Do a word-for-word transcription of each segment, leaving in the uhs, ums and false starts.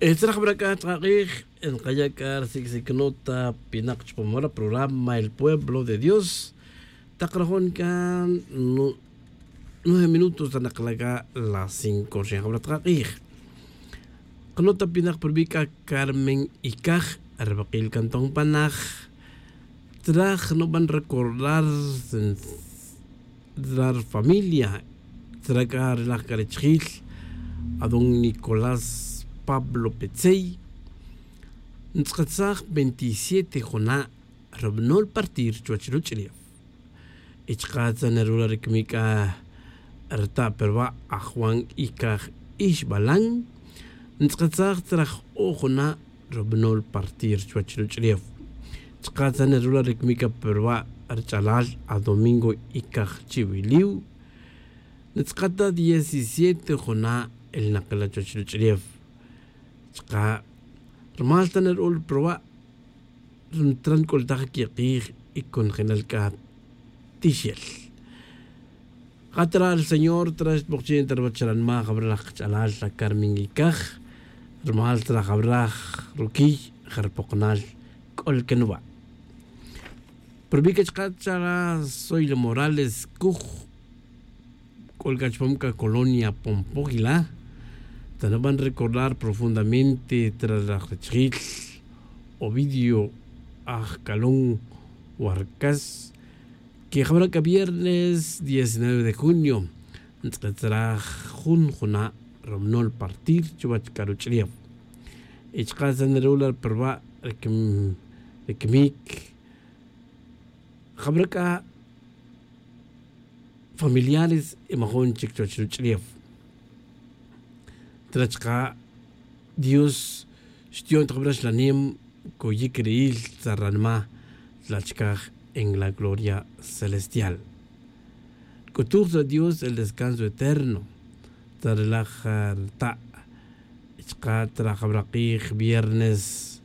Tzraj bra c'a chka' k'ij nkaya' c'a ri sic'sic nota pinak chupam ora programa el pueblo de dios. Tak rajon c'a nueve minutos ta nakla' c'a las cinco rixin jabra chka' k'ij. Kanota pinak pa rubi' c'a carmen icaj, ri bakil can ton panaj. Tzraj nuban recordar tzra ri familia tzra c'a ri laj c'a richijil adón nicolás pablo petzey. Ntz'akatsaj veintisiete juna' ri banol partir chuwech ruch'ulef. Y chka' tzra nerula' ri camic c'a rita' pa ruwa' aj juan icaj ixbalan. Ntz'akatsaj tzra j-o' juna' ri banol partir chuwech ruch'ulef. Chka' tzra nerula' ri camic c'a pa ruwa' ri ch'alal adomingo icaj chiwiliw. Ntz'akata diecisiete juna' el nakila' chuwech ruch'ulef. Chka' rumal ta nerula' pa ruwa' ri ntra nc'ultaj quik'ij y conjelal c'a tixel. Ja tzra ri señor tzra xtbokchi' ta ruwech ranma' jabra laj kach'alal la carmen icaj. Rumal tzra jabra ruquiy ja ripokonal c'ol can wa'. Pero vi c'a chka' tzra ri soyla morales cuj c'ol c'a chupam c'a colonia pompógila. Tzra nuban recordar profundamente tzra ri laj richijil ovidio aj calón warcas. Que jabra c'a viernes diecinueve de junio ntz'akatsaj jun juna' ri banol partir chuwech c'a ruch'ulef. Y chka' tzra nerula' pa ruwa' ri camic jabra c'a familiares y majun chic chuwech ruch'ulef. Tzra chka' dios xtiyon ta jabra xlanem coyic ri'il tzra ranma' tzra chicaj en la gloria celestial. C'utuj tzra dios el descanso eterno tzra ri laj rita'. Y chka' tzra jabra k'ij viernes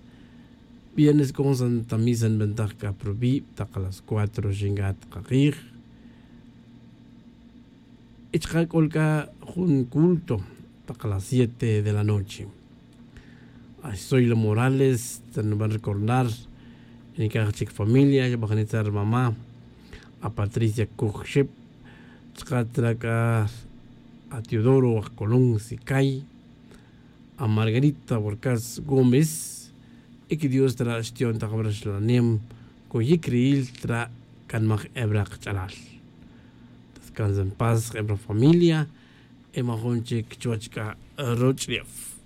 viernes c'o jun santa misa nbentaj c'a pa rubi' tak las cuatro xinca' tak ak'ij. Y chka' c'ol c'a jun culto tak las siete de la noche. Ay soyla morales tzra nuban recordar nicaj chic familia xbajni tzra ri mama' a patricia cuj xep. Chka' tzra c'a a teodoro aj colón sicay, a margarita warcas gómez. Y que dios tzra xtiyon ta jabra xlanem coyic ri'il tzra canmaj ebra kach'alal. Descansa en paz ebra familia. Y majun chic chuwech c'a ruch'ulef.